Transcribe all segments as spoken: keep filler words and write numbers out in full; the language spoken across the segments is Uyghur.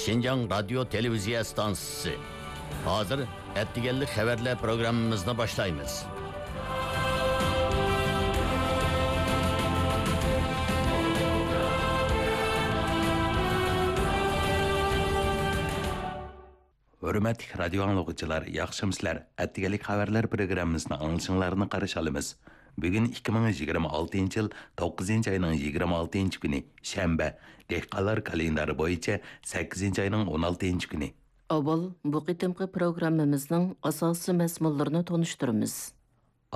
شىنجاڭ رادىيو تېلېۋىزىيە ئىستانسىسى. ھازىر ئەتىگەنلىك خەۋەرلەر پروگراممىمىزنى باشلايمىز. ھۆرمەتلىك رادىيو ئاڭلىغۇچىلار، ياخشىمۇسىلەر؟ ئەتىگەنلىك خەۋەرلەر پروگراممىسىنى ئاڭلىشىڭلارنى قارشى ئالىمىز. بۈگۈن ئىككى مىڭ يىگىرمە ئالتىنچى يىل توققۇزىنچى ئاينىڭ يىگىرمە ئالتىنچى كۈنى، شەنبە، دېھقانلار كالېندارى بويىچە سەككىزىنچى ئاينىڭ ئون ئالتىنچى كۈنى. ئاۋۋال بۇ قېتىمقى پروگراممىمىزنىڭ ئاساسىي مەزمۇنلىرىنى تونۇشتۇرىمىز.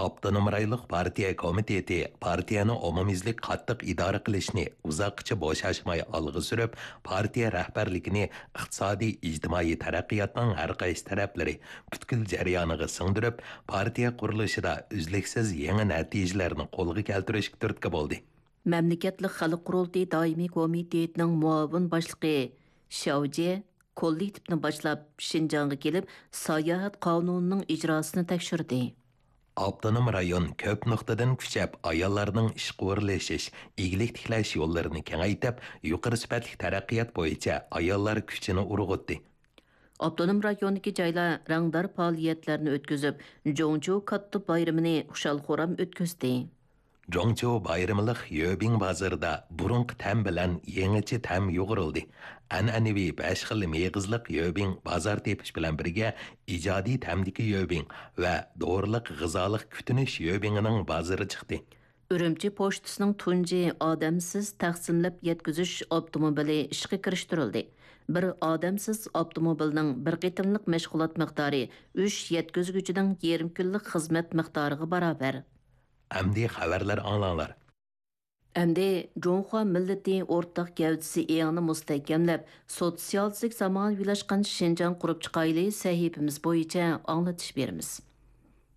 ئاپتونوم رايونلۇق پارتىيە كومىتېتى پارتىيەنى ئومۇميۈزلۈك قاتتىق ئىدارە قىلىشنى ئۇزاققىچە بوشاشماي ئالغا سۈرۈپ، پارتىيە رەھبەرلىكىنى ئىقتىسادىي، ئىجتىمائىي تەرەققىياتنىڭ ھەر قايسى تەرەپلىرى پۈتكۈل جەريانىغا سىڭدۈرۈپ، پارتىيە قۇرۇلۇشىدا ئۈزلۈكسىز يېڭى نەتىجىلەرنى قولغا كەلتۈرۈشكە تۈرتكە بولدى. مەملىكەتلىك خەلق قۇرۇلتىيى دائىمىي كومىتېتىنىڭ مۇئاۋىن باشلىقى شياۋجې كوللېكتىپنى باشلاپ، شىنجاڭغا كېلىپ، ساياھەت قانۇنىنىڭ ئىجراسىنى تەكشۈردى. ئاپتونوم رايون كۆپ نۇقتىدىن كۈچەپ ئاياللارنىڭ ئىشقا ئورۇنلىشىش، ئىگىلىك تىكلەش يوللىرىنى كېڭەيتىپ، يۇقىرى سۈپەتلىك تەرەققىيات بويىچە ئاياللار كۈچىنى ئۇرغۇتتى. ئاپتونوم رايوندىكى جايلار رەڭدار پائالىيەتلەرنى ئۆتكۈزۈپ، جوڭچۇ كاتتا بايرىمىنى خۇشال-خۇرام ئۆتكۈزدى. جوڭچۇ بايرىملىق يۆبىڭ بازىرىدا بۇرۇنقى تەم بىلەن يېڭىچە تەم يۇغۇرۇلدى. ئەنئەنىۋى بەش خىل مېغىزلىق يۆبىڭ بازار تېپىش بىلەن بىرگە، ئىجادىي تەمدىكى يۆبىڭ ۋە دورىلىق غىزالىق كۈتۈنۈش يۆبىڭىنىڭ بازىرى چىقتى. ئۈرۈمچى پوچتىسىنىڭ تۇنجى ئادەمسىز تەقسىملەپ يەتكۈزۈش ئاپتوموبىلى ئىشقا كىرىشتۈرۈلدى. بىر ئادەمسىز ئاپتوموبىلنىڭ بىر قېتىملىق مەشغۇلات مىقدارى ئۈچ يەتكۈزگۈچىنىڭ يېرىم كۈنلۈك خىزمەت مىقدارىغا باراۋەر. ئەمدى خەۋەرلەر ئاڭلاڭلار. ئەمدى جۇڭخۇا مىللىتى ئورتاق گەۋدىسى ئېڭىنى مۇستەھكەملەپ، سوتسىيالىستىك زامانىۋىلاشقان شىنجاڭ قۇرۇپ چىقايلى سەھىپىمىز بويىچە ئاڭلىتىش بېرىمىز.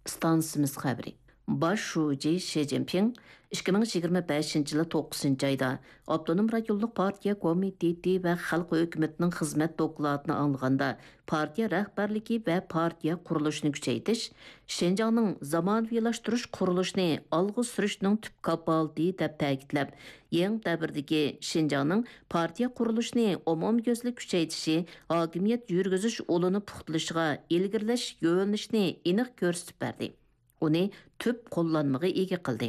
ئىستانسىمىز خەۋىرى. باش شۇجى شى جىنپىڭ ئىككى مىڭ يىگىرمە بەشىنچى يىلى توققۇزىنچى ئايدا ئاپتونوم رايونلۇق پارتىيە كومىتېتى ۋە خەلق ھۆكۈمىتىنىڭ خىزمەت دوكلاتىنى ئاڭلىغاندا، پارتىيە رەھبەرلىكى ۋە پارتىيە قۇرۇلۇشىنى كۈچەيتىش، شىنجاڭنىڭ زامانىۋىلاشتۇرۇش قۇرۇلۇشىنى ئالغا سۈرۈشنىڭ تۈپ كاپالىتى دەپ تەكىتلەپ، يېڭى دەۋردىكى شىنجاڭنىڭ پارتىيە قۇرۇلۇشىنى ئومۇميۈزلۈك كۈچەيتىشى، ھاكىمىيەت يۈرگۈزۈش ئۇلىنى پۇختىلىشىغا ئىلگىرىلەش يۆنىلىشىنى ئېنىق كۆرسىتىپ بەردى. ئۇنى تۈپ قوللانمىغا ئىگە قىلدى.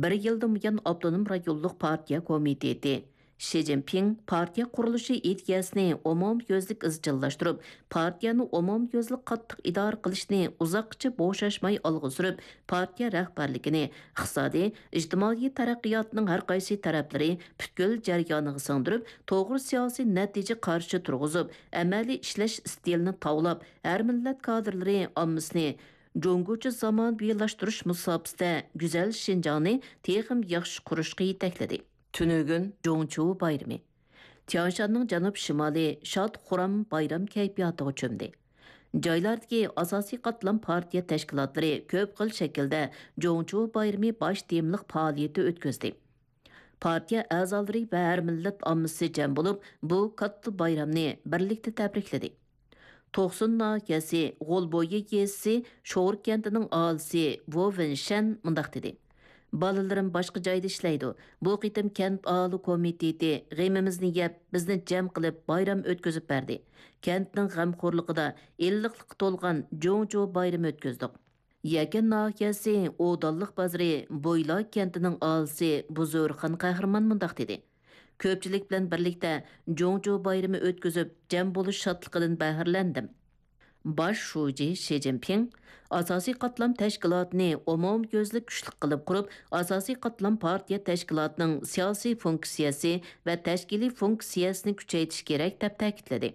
بىر يىلدىن بۇيان ئاپتونوم رايونلۇق پارتىيە كومىتېتى، شى جىنپىڭ پارتىيە قۇرۇلۇشى ئىدىيەسىنى ئومۇميۈزلۈك ئىزچىللاشتۇرۇپ، پارتىيەنى ئومۇميۈزلۈك قاتتىق ئىدارە قىلىشنى ئۇزاققىچە بوشاشماي ئالغا سۈرۈپ، پارتىيە رەھبەرلىكىنى ئىقتىسادىي، ئىجتىمائىي تەرەققىياتنىڭ ھەر قايسى تەرەپلىرى پۈتكۈل جەريانىغا سىڭدۈرۈپ، توغرا سىياسىي نەتىجە قارىشى تۇرغۇزۇپ، ئەمەلىي ئىشلەش ئىستىلىنى تاۋلاپ، ھەر مىللەت كادىرلىرى ئاممىسىنى جۇڭگوچە زامانىۋىلاشتۇرۇش مۇساپىسىدە گۈزەل شىنجاڭنى تېخىمۇ ياخشى قۇرۇشقا يېتەكلىدى. تۈنۈگۈن جۇڭچۇ بايرىمى. تيانشاننىڭ جەنۇب شىمالى شاد-خۇرام بايرام كەيپىياتىغا چۆمدى. جايلاردىكى ئاساسىي قاتلام پارتىيە تەشكىلاتلىرى كۆپ خىل شەكىلدە جۇڭچۇ بايرىمى باش تېمىلىق پائالىيىتى ئۆتكۈزدى. پارتىيە ئەزالىرى ۋە ھەر مىللەت ئاممىسى جەم بولۇپ، بۇ كاتتا بايرامنى بىرلىكتە تەبرىكلىدى. توقسۇن ناھىيەسى غولبويى يېزىسى شور كەنتىنىڭ ئاھالىسى ۋو ۋېنشەن مۇنداق دېدى: «بالىلىرىم باشقا جايدا ئىشلەيدۇ. بۇ قېتىم كەنت ئاھالە كومىتېتى غېمىمىزنى يەپ، بىزنى جەم قىلىپ بايرام ئۆتكۈزۈپ بەردى. كەنتنىڭ غەمخورلۇقىدا ئىللىقلىققا تولغان جۇڭجۇ بايرىمى ئۆتكۈزدۇق.» يەكەن ناھىيەسى ئودانلىق بازىرى بويلا كەنتىنىڭ ئاھالىسى بۇزۇرخان قەھرىمان مۇنداق دېدى: «كۆپچىلىك بىلەن بىرلىكتە جۇڭجۇ بايرىمى ئۆتكۈزۈپ، جەم بولۇش شادلىقىدىن بەھرىلەندىم.» باش شۇجى شى جىنپىڭ ئاساسىي قاتلام تەشكىلاتىنى ئومۇميۈزلۈك كۈچلۈك قىلىپ قۇرۇپ، ئاساسىي قاتلام پارتىيە تەشكىلاتىنىڭ سىياسىي فۇنكسىيەسى ۋە تەشكىلىي فۇنكسىيەسىنى كۈچەيتىش كېرەك، دەپ تەكىتلىدى.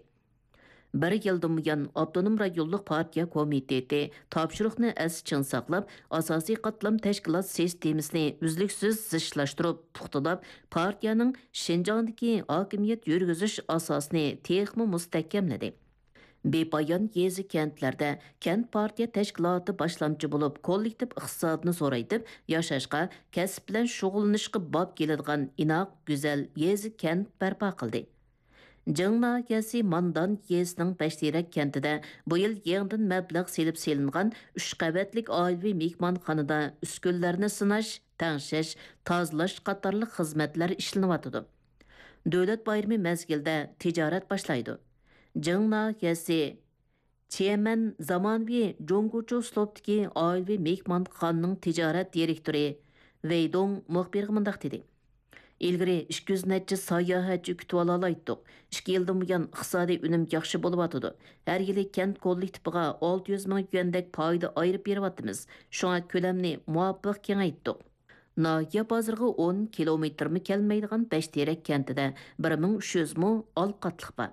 بىر يىلدىن بۇيان، ئاپتونوم رايونلۇق پارتىيە كومىتېتى تاپشۇرۇقنى ئەستە چىڭ ساقلاپ، ئاساسىي قاتلام تەشكىلات سىستېمىسىنى ئۈزلۈكسىز زىچلاشتۇرۇپ، پۇختىلاپ، پارتىيەنىڭ شىنجاڭدىكى ھاكىمىيەت يۈرگۈزۈش ئاساسىنى تېخىمۇ مۇستەھكەملىدى. بىپايان يېزا، كەنتلەردە كەنت پارتىيە تەشكىلاتى باشلامچى بولۇپ، كوللېكتىپ ئىقتىسادنى زورايتىپ، ياشاشقا، كەسىپ بىلەن شۇغۇللىنىشقا باب كېلىدىغان ئىناق، گۈزەل يېزا، كەنت بەرپا قىلدى. جىڭ ناھىيەسى ماندان يېزىسىنىڭ بەشتېرەك كەنتىدە بۇ يىل يېڭىدىن مەبلەغ سېلىپ سېلىنغان ئۈچ قەۋەتلىك ئائىلىۋى مېھمانخانىدا ئۈسكۈنىلەرنى سىناش، تەڭشەش، تازىلاش قاتارلىق خىزمەتلەر ئىشلىنىۋاتىدۇ. دۆلەت بايرىمى مەزگىلىدە تىجارەت باشلايدۇ. جىڭ ناھىيەسى چيەنمەن زامانىۋى جۇڭگوچۇ ئۇسلۇبتىكى ئائىلىۋى مېھمانخانىنىڭ تىجارەت دىرېكتورى ۋېي دۇڭ مۇخبىرغا مۇنداق دېدى: «ئىلگىرى ئىككى يۈز نەچچە ساياھەتچى كۈتۈۋالالايتتۇق. ئىككى يىلدىن بۇيان ئىقتىسادىي ئۈنۈم ياخشى بولۇۋاتىدۇ. ھەر يىلى كەنت كوللېكتىپىغا ئالتە يۈز مىڭ يۈەندەك پايدا ئايرىپ بېرىۋاتىمىز. شۇڭا كۆلەمنى مۇۋاپىق كېڭەيتتۇق.» ناھىيە بازىرىغا ئون كىلومېتىرمۇ كەلمەيدىغان بەشتېرەك كەنتىدە بىر مىڭ ئۈچ يۈز مو ئالقاتلىق بار.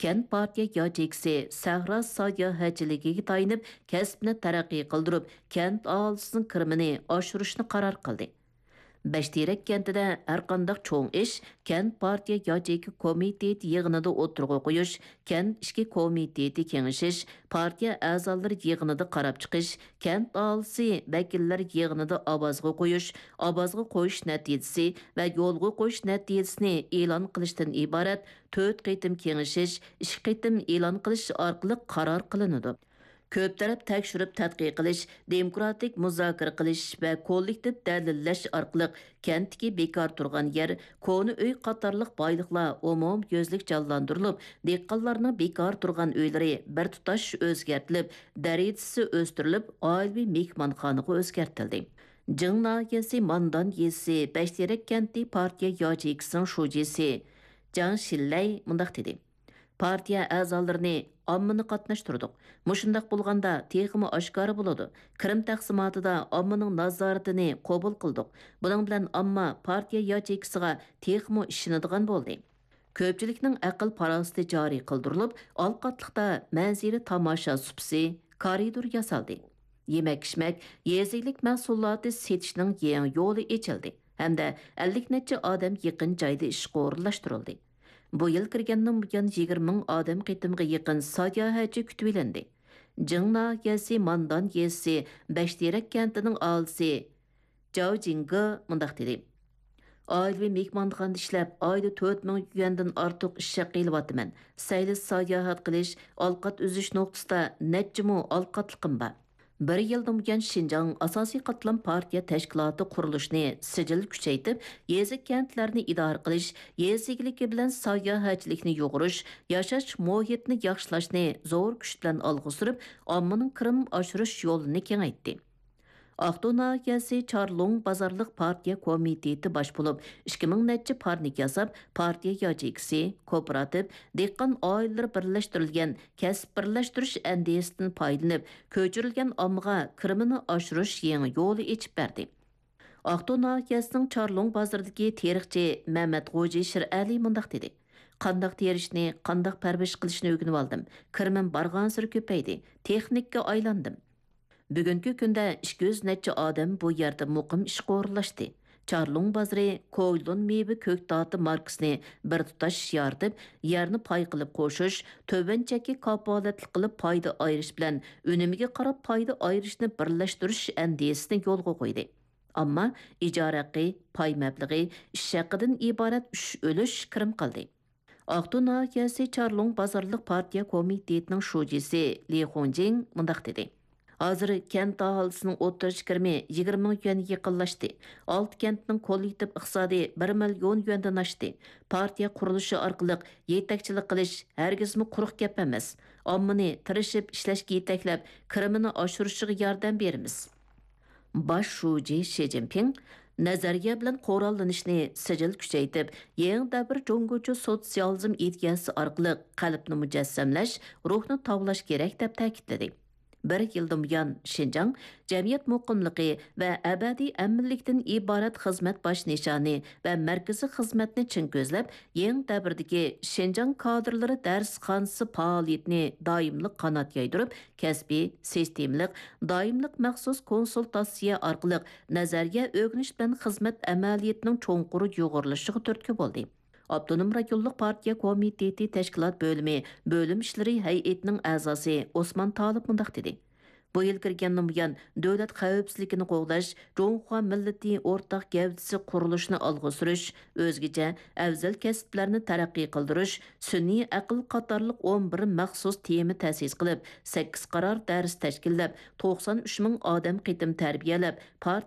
كەنت پارتىيە ياچېيكىسى سەھرا ساياھەتچىلىكىگە تايىنىپ، كەسىپنى تەرەققىي قىلدۇرۇپ، كەنت ئاھالىسىنىڭ كىرىمىنى ئاشۇرۇشنى قارار قىلدى. بەشتېرەك كەنتىدە ھەرقانداق چوڭ ئىش كەنت پارتىيە ياچېيكا كومىتېتى يىغىنىدا ئوتتۇرىغا قويۇش، كەنت ئىچكى كومىتېتى كېڭىشىش، پارتىيە ئەزالىرى يىغىنىدا قاراپ چىقىش، كەنت ئاھالىسى ۋەكىللەر يىغىنىدا ئاۋازغا قويۇش، ئاۋازغا قويۇش نەتىجىسى ۋە يولغا قويۇش نەتىجىسىنى ئېلان قىلىشتىن ئىبارەت تۆت قېتىم كېڭىشىش، ئىككى قېتىم ئېلان قىلىش ئارقىلىق قارار قىلىنىدۇ. كۆپ تەرەپ تەكشۈرۈپ تەتقىق قىلىش، دېموكراتىك مۇزاكىرە قىلىش ۋە كوللېكتىپ دەلىللەش ئارقىلىق كەنتتىكى بىكار تۇرغان يەر، كونا ئۆي قاتارلىق بايلىقلار ئومۇميۈزلۈك جانلاندۇرۇلۇپ، دېھقانلارنىڭ بىكار تۇرغان ئۆيلىرى بىر تۇتاش ئۆزگەرتىلىپ، دەرىجىسى ئۆستۈرۈلۈپ، ئائىلىۋى مېھمانخانىغا ئۆزگەرتىلدى. جىڭ ناھىيەسى ماندان يېزىسى بەشتېرەك كەنتى پارتىيە ياچېيكىسىنىڭ شۇجىسى جاڭ شىنلەي مۇنداق دېدى: «پارتىيە ئەزالىرىنى، ئاممىنى قاتناشتۇردۇق. مۇشۇنداق بولغاندا تېخىمۇ ئاشكارا بولىدۇ. كىرىم تەقسىماتىدا ئاممىنىڭ نازارىتىنى قوبۇل قىلدۇق. بۇنىڭ بىلەن ئامما پارتىيە ياچېيكىسىغا تېخىمۇ ئىشىنىدىغان بولدى.» كۆپچىلىكنىڭ ئەقىل-پاراسىتى جارى قىلدۇرۇلۇپ، ئالقاتلىقتا مەنزىرە تاماشا سۇپىسى، كارىدور ياسالدى. يېمەك-ئىچمەك، يېزا ئىگىلىك مەھسۇلاتى سېتىشنىڭ يېڭى يولى ئېچىلدى ھەمدە ئەللىك نەچچە ئادەم يېقىن جايدا ئىشقا ئورۇنلاشتۇرۇلدى. بۇ يىل كىرگەندىن بۇيان يىگىرمە مىڭ ئادەم قېتىمغا يېقىن ساياھەتچى كۈتۈۋېلىندى. جىڭ ناھىيەسى ماندان يېزىسى بەشتېرەك كەنتىنىڭ ئاھالىسى جاۋ جىڭگې مۇنداق دېدى: «ئائىلىۋى مېھمانخانىدا ئىشلەپ، ئايدا تۆت مىڭ يۈەندىن ئارتۇق ئىش ھەققى ئېلىۋاتىمەن. سەيلە ساياھەت قىلىش، ئالقات ئۈزۈش نۇقتىسىدا نەچچە مو ئالقاتلىقىم بار. بىر يىلدىن بۇيان شىنجاڭ ئاساسىي قاتلام پارتىيە تەشكىلاتى قۇرۇلۇشىنى سىجىل كۈچەيتىپ، يېزا، كەنتلەرنى ئىدارە قىلىش، يېزا ئىگىلىكى بىلەن ساياھەتچىلىكنى يۇغۇرۇش، ياشاش مۇھىتىنى ياخشىلاشنى زور كۈچ بىلەن ئالغا سۈرۈپ، ئاممىنىڭ كىرىم ئاشۇرۇش يولىنى كېڭەيتتى.» ئاقتۇ ناھىيەسى چارلۇڭ بازارلىق پارتىيە كومىتېتى باش بولۇپ، ئىككى مىڭ نەچچە پارنىك ياساپ، پارتىيە ياچېيكىسى، كوپىراتىپ، دېھقان ئائىلىلىرى بىرلەشتۈرۈلگەن كەسىپ بىرلەشتۈرۈش ئەندىزىسىدىن پايدىلىنىپ، كۆچۈرۈلگەن ئاممىغا كىرىمىنى ئاشۇرۇش يېڭى يولى ئېچىپ بەردى. ئاقتۇ ناھىيەسىنىڭ چارلۇڭ بازىرىدىكى تېرىقچى مەمەت غوجى شىرئەلى مۇنداق دېدى: «قانداق تېرىشنى، قانداق پەرۋىش قىلىشنى ئۆگىنىۋالدىم. كىرىمىم بارغانسېرى كۆپەيدى. تېخنىككا ئايلاندىم.» بۈگۈنكى كۈندە ئىككى يۈز نەچچە ئادەم بۇ يەردە مۇقىم ئىشقا ئورۇنلاشتى. چارلۇڭ بازىرى كويلۇن مېۋە كۆكتاتى ماركىسىنى بىر تۇتاش يارىتىپ، يەرنى پاي قىلىپ قوشۇش، تۆۋەن چەككە كاپالەتلىك قىلىپ پايدا ئايرىش بىلەن ئۈنۈمىگە قاراپ پايدا ئايرىشنى بىرلەشتۈرۈش ئەندىزىسىنى يولغا قويدى. ئەمما ئىجارە ھەققى، پاي مەبلىغى، ئىش ھەققىدىن ئىبارەت ئۈچ ئۈلۈش كىرىم قىلدى. ئاقتۇ ناھىيەسى چارلۇڭ بازارلىق پارتىيە كومىتېتىنىڭ شۇجىسى لى خۇڭجىڭ مۇنداق دېدى: «ھازىر كەنت ئاھالىسىنىڭ ئوتتۇرىچە كىرىمى يىگىرمە مىڭ يۈەنگە يېقىنلاشتى. ئالتە كەنتنىڭ كوللېكتىپ ئىقتىسادى بىر مىليون يۈەندىن ئاشتى. پارتىيە قۇرۇلۇشى ئارقىلىق يېتەكچىلىك قىلىش ھەرگىزمۇ قۇرۇق گەپ ئەمەس. ئاممىنى تىرىشىپ ئىشلەشكە يېتەكلەپ، كىرىمىنى ئاشۇرۇشىغا ياردەم بېرىمىز.» باش شۇجى شى جىنپىڭ نەزەرىيە بىلەن قوراللىنىشنى سىجىل كۈچەيتىپ، يېڭى دەۋر جۇڭگوچە سوتسىيالىزم ئىدىيەسى ئارقىلىق قەلبنى مۇجەسسەملەش، روھنى تاۋلاش كېرەك، دەپ تەكىتلىدى. بىر يىلدىن بۇيان، شىنجاڭ جەمئىيەت مۇقىملىقى ۋە ئەبەدىي ئەمىنلىكتىن ئىبارەت خىزمەت باش نىشانى ۋە مەركىزىي خىزمەتنى چىڭ كۆزلەپ، يېڭى دەۋردىكى شىنجاڭ كادىرلىرى دەرسخانىسى پائالىيىتىنى دائىملىق قانات يايدۇرۇپ، كەسپىي، سىستېمىلىق، دائىملىق مەخسۇس كونسۇلتاتسىيە ئارقىلىق نەزەرىيە ئۆگىنىش بىلەن خىزمەت ئەمەلىيىتىنىڭ چوڭقۇر يۇغۇرۇلۇشىغا تۈرتكە بولدى. ئاپتونوم رايونلۇق پارتىيە كومىتېتى تەشكىلات بۆلۈمى بۆلۈم ئىشلىرى ھەيئىتىنىڭ ئەزاسى ئوسمان تالىپ مۇنداق دېدى: «بۇ يىل كىرگەندىن بۇيان، دۆلەت خەۋپسىزلىكىنى قوغداش، جۇڭخۇا مىللىتى ئورتاق گەۋدىسى قۇرۇلۇشىنى ئالغا سۈرۈش، ئۆزگىچە ئەۋزەل كەسىپلەرنى تەرەققىي قىلدۇرۇش، سۈنئىي ئەقىل قاتارلىق ئون بىر مەخسۇس تېما تەسىس قىلىپ، سەككىز قارار دەرس تەشكىللەپ، توقسان ئۈچ مىڭ ئادەم قېتىم تەربىيەلەپ، پارتىيە